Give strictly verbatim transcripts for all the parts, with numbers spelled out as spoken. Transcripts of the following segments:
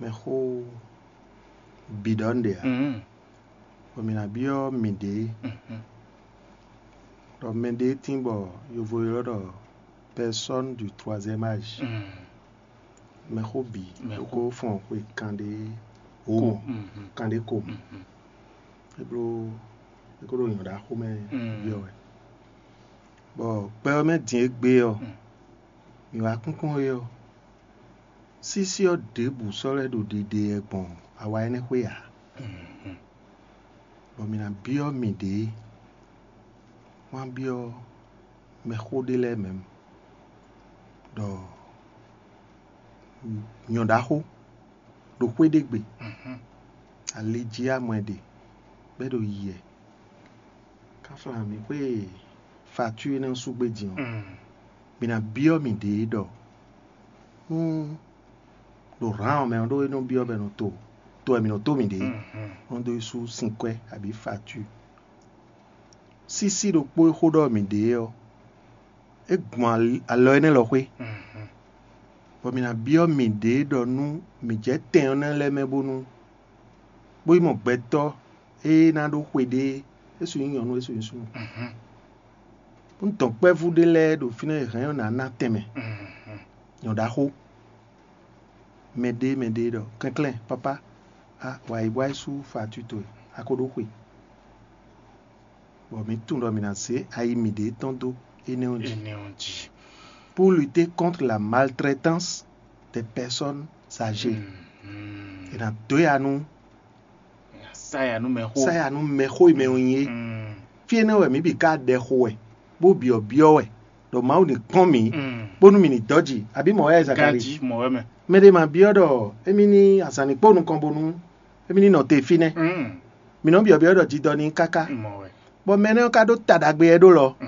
mɛxó bǐ ɖɔ nǔɖé ǎ. Mhm. Bɔ mǐ ná byɔ́ mǐɖée, mhm, ɖɔ mɛɖée tíin bɔ yovo ylɔ́ ɖɔ personne du troisième âge. Mhm. Mɛxó bǐ, mɛxó, kókó fɔn xwe kanɖé ko, hómɔ, mhm, kanɖé ko mɔ. Mhm. É bló é ko ɖo nyɔ̌ɖaxó mɛ, mm, byɔ́ wɛ. Bɔ gbɛ ɔ́ mɛ din e gbé ɔ́, mm, mǐ wá kúnkún é ɔ́, sísí ɔ́ ɖěbǔ sɔ́ lɛ́ ɖo ɖiɖe wɛ gbɔn awa énɛ́ xwé ǎ. Mhm. Bɔ mǐ ná byɔ́ mǐɖée, wá byɔ́ mɛxó ɖé lɛ́ɛ mɛ ɖɔ nyɔ̌ɖaxó ɖo xwé ɖé gbe, mhm, ali jí amɔ ɛ ɖe, bɔ é ɖo yi wɛ. Káflán mǐ xwé facture énɛ́ ɔ́ sú gbé din ɔ́, mm, mǐ ná byɔ́ mǐɖée ɖɔ nú ɖo hǎn ɔ́ mɛ ɔ́ ɖó é nɔ byɔ́ bɔ è nɔ to to wɛ mǐ nɔ tó mǐɖée, mhm, nɔ dó yi sú sinkwɛ́ abǐ facture. Sísí ɖokpó e xó ɖɔ mǐɖée ɔ́, é gbɔn ali- alɔ énɛ́ lɔ xwé, mhm, bɔ mǐ ná byɔ́ mǐɖée ɖɔ nú mǐ jɛ tɛn ɔ́ nɛ́ lɛ́ɛ mɛ bónú bó yi mɔ gbɛtɔ́ e ná ɖó xwe ɖé, é su nyí nyɔ̌nu, é su nyí súnnu. Mhm. Un dɔn kpɛ́vú ɖé lɛ́ɛ ɖo fínɛ́ e hɛ̌n ɔ́ ná ná tɛnmɛ. Mhm. Nyɔ̌ɖaxó, mɛɖée mɛɖée ɖɔ kɛnklɛ́n, papá, a wǎ yi bɔ wá yi sú facture towe, a ko ɖó xwe. Bɔ mǐ tunwun ɖɔ mǐ ná zé ayi mǐɖée tɔn dó énɛ́ ɔ́ jí. Énɛ́ ɔ́ jí. Pour lutter contre la maltraitance des personnes âgées. Mhm. È nǎ dó ya nú Saya nú mɛxó. Saya nú mɛxó e mɛ ɔ́ nyí é. Mm. Fí énɛ́ wɛ mǐ bǐ ka ɖɛ xo wɛ, bó byɔ̌byɔ́ wɛ, ɖɔ Mawu ní kpɔ́n mǐ, mm, bónú mǐ ní dɔ́ jǐ, abǐ mɔ̌ wɛ Zakalíi? Ganjí mɔ̌ wɛ mɛ. Mɛɖé ma byɔ́ ɖɔ émí ní azǎn ní kpó nukɔn bónú émí ní nɔ te fínɛ́. Mm. Mǐ nɔ byɔ̌byɔ́ ɖɔ jidɔ ní káká. Mɔ̌ wɛ. Bɔ mɛ énɛ́ ɔ́ ka ɖó ta ɖagbe wɛ ɖó lɔ, mm,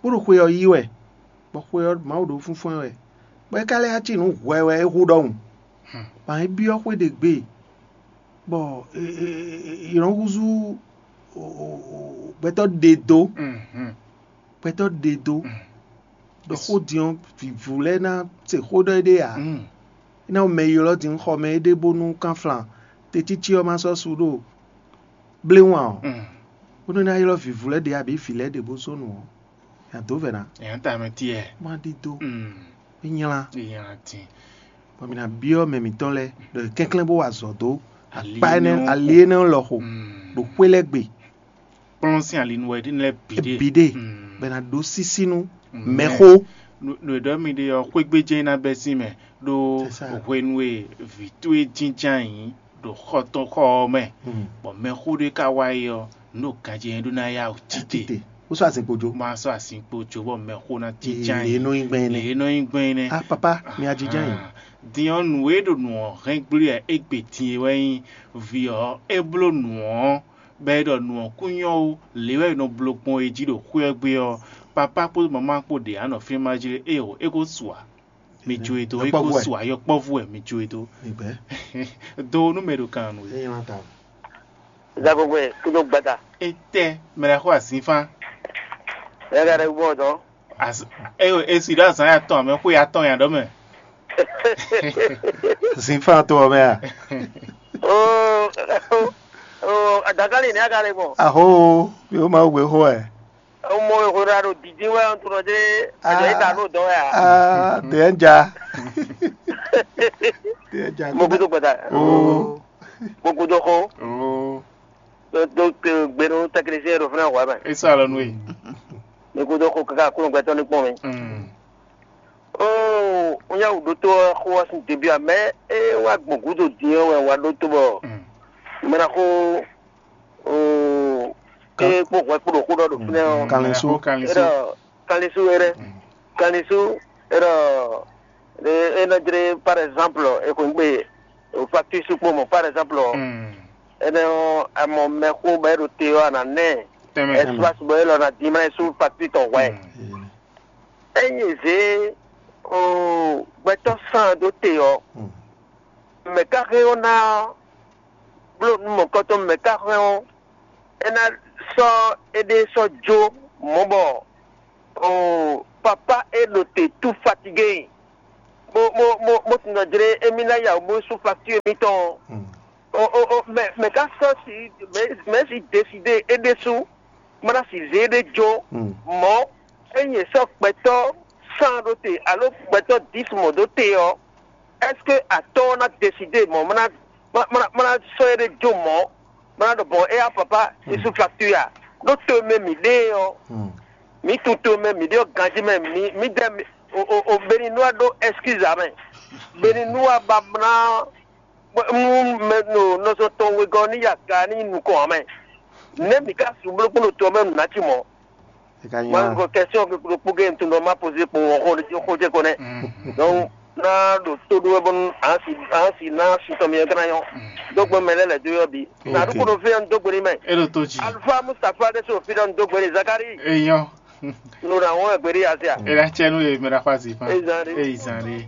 bó ɖo xwe ɔ́ yí wɛ, bɔ xwe ɔ́ Mawu ɖó fúnfún ɛ wɛ, bɔ é ka lɛ́ cí nǔ hwɛ wɛ é hu ɖɔhun. Hmm. Bɔ é byɔ́ xwé ɖě gbe, bɔ è nɔ húzú gbɛtɔ́ ɖe dó. Mhm. Gbɛtɔ́ ɖe dó. Mm. Ɖɔ xó din ɔ́, vǐvú lɛ́ɛ ná se xó ɖɔ éɖée ǎ. Mm. É ná mɔ mɛ ylɔ́ din xɔ mɛ éɖée bónú kánflán tecící ɔ́ ma sɔ́ su ɖo bléwún ǎ ɔ́, mm, bónú é ná ylɔ́ vǐvú lɛ́ɛ ɖě abǐ vǐ lɛ́ɛ ɖě bó zɔ́n nǔ ɔ́, è nǎ dó vɛ̌ ná. È nǎ ta mɛ tiyɛ. Má ɖidó. Mm. É nylá. É nylá dín. Bɔ mǐ ná byɔ́ mɛ mǐtɔn lɛ́ɛ ɖɔ yě kɛnklɛ́n bó wa azɔ̌ dó akpá énɛ́, ali énɛ́ lɔ xo, mm, ɖo xwé lɛ́ɛ gbe. Kplɔ́n sín ali nú wɛ ɖi lɛ́ɛ bǐ ɖe. Bǐ ɖe, mm, bɔ è nǎ ɖó sísí nú mɛxó. Nǔ e ɖɔ mi ɖe ɔ́, xwégbéjɛ ná bɛ́ sín mɛ ɖó, c'est ça, hwenu e vǐ towe jínjɔ́n ayǐ ɖo xɔ tɔn xɔ ɔ́ mɛ, mm, bɔ mɛxó ɖé ka wá yi ɔ́, nǔ ɖo ganjí nyɛ ɖó ná yá wǔ tite. Tite. Ó sɔ́ azinkpo jó. Má sɔ́ azinkpo jó bɔ mɛxó ná jínjɔ́n ayǐ. Lě e nɔ nyí gbɛn énɛ́. Lě e nɔ nyí gbɛn énɛ́. Ah, papa, mi wá jínjɔ́n ayǐ. Ah, din ɔ́, nǔ e ɖo nǔ ɔ́ hɛn gblí wɛ é gbe din é wɛ nyí vǐ ɔ́, é bló nǔ ɔ́, bɔ é ɖɔ nǔ ɔ́ kún nyɔ́ ó, lě wɛ è nɔ bló gbɔn é jí ɖo xwé ɔ́ gbe ɔ́, papá kpódó mamá kpó ɖě á nɔ fínɛ́ má jlé éeǒ, é ko su ǎ. Mi jó e dó, é ko su ǎ, yɔkpɔ́vú wɛ mi jó e dó. Migbɛ́. Do nú mɛ ɖo kan nú é. Zagogbɛ kúdó gbada. Étɛ́ mɛ lɛ́ɛ xó azínfán. Ɛ ka ɖe gbɔ dɔn. As e e si ɖo azán ya tɔn amɛ xó ya tɔn ya ɖɔ mɛ. Zínfán to ɔ́ mɛ a? Oo, oo, adakali ni a ka ɖe gbɔ. Aho, mi ó ma wú gbé xó ɛ. Ọmọ ìhòòhò àrò dìdí wẹ́ ń tún ọdẹ ẹ̀jẹ̀ ìta ló dán wẹ́ à. Ah, tẹ̀ ń ja. Tẹ̀ ń ja. Mo kúndùn gbẹ̀dà. Oo. Mo kúndùn kó. Oo. Tó tó gbẹnu tẹkinisíyẹn rò fúnra wà bẹ́ẹ̀. Esa lọ nù yìí. Mo kúndùn kó kaka kúrò gbẹtọ́ ní pọ́n mi. Mm. Oo, ń yà wò dótó xó wá sí débi àmẹ́ é wá gbọ̀n gúdò dín ọ́ wẹ̀ wá dótó bọ̀. Mm. Mẹ́ra kó oo ke kpó hwɛ kpó ɖo xó ɖɔ ɖo fínɛ́ ɔ́. Kanlin sú. Kanlin sú. Eɖɔ kanlin sú eɖe. Kanlin sú eɖɔ e e nɔ jlé par exemple ekwengbe o facture sú kpó mɔ par exemple ɔ. Enɛ ɔ amɔ mɛxó bɔ e ɖo te ɔ́ ana nɛ. Tɛmɛ. Espace bɔ e lɔ na dimlɛ sú facture tɔn hwɛ. Enyi zé o gbɛtɔ sàn ɖó te ɔ. Mɛ ka xɛ ɔ́ ná bló nú mɔ̌kɔtɔn mɛ ka xɛ ɔ́, é ná sɔ́ éɖée sɔ́ jó mɔ̌ bɔ oo papá é ɖo te tout fatigué. mo mo mo mo tunɔ jlé émí ná ya bó sú facture émítɔn. O o o mɛ mɛ ká sɔ si mɛ mɛ si décidé é ɖésú, mana si zé ɖé jó. Mɔ ényí sɔ gbɛtɔ cent ɖó te alo gbɛtɔ dix mɔ ɖó te ɔ, est-ce que atɔ ná décidé mɔ mana mana mana sɔ é ɖé jó mɔ mana ɖɔ bɔn é ya papa, isu facture ya ɖó to mɛ mi ɖe ɔ, mi tun to mɛ mi ɖe ɔ ganji mɛ mi mi dɛ mi o o o beni nua ɖó excuse amɛ, beni nua ba mana mu mɛ no nɔzɔ tɔn wegɔ ni ya ga ni nukɔn amɛ. Ne mi ka su bló kpɔn to mɛ nu na ci mɔ. Eka Ma nya. Ko question ke kpó kpó ke ntun dɔ ma poser kpó wọn xó xó jẹ ko nɛ. Donc na ɖo tó ɖó wɛ bɔnu ansi ansi na si tɔn mi kana yɔ. Donc bɔ mɛ lɛ lɛ do yɔ bi. Na Ok. Ɖo ko ɖo fɛ n do gbeni mɛ. E ɖo tó dzi. Alpha Mustapha de so fi dɔ n do gbeni Zakari. Eyɔ. No na wɔn gbeni asia. E la tsɛ nu ye mɛ la fa zi fa. Ezan de. Eyi zan de.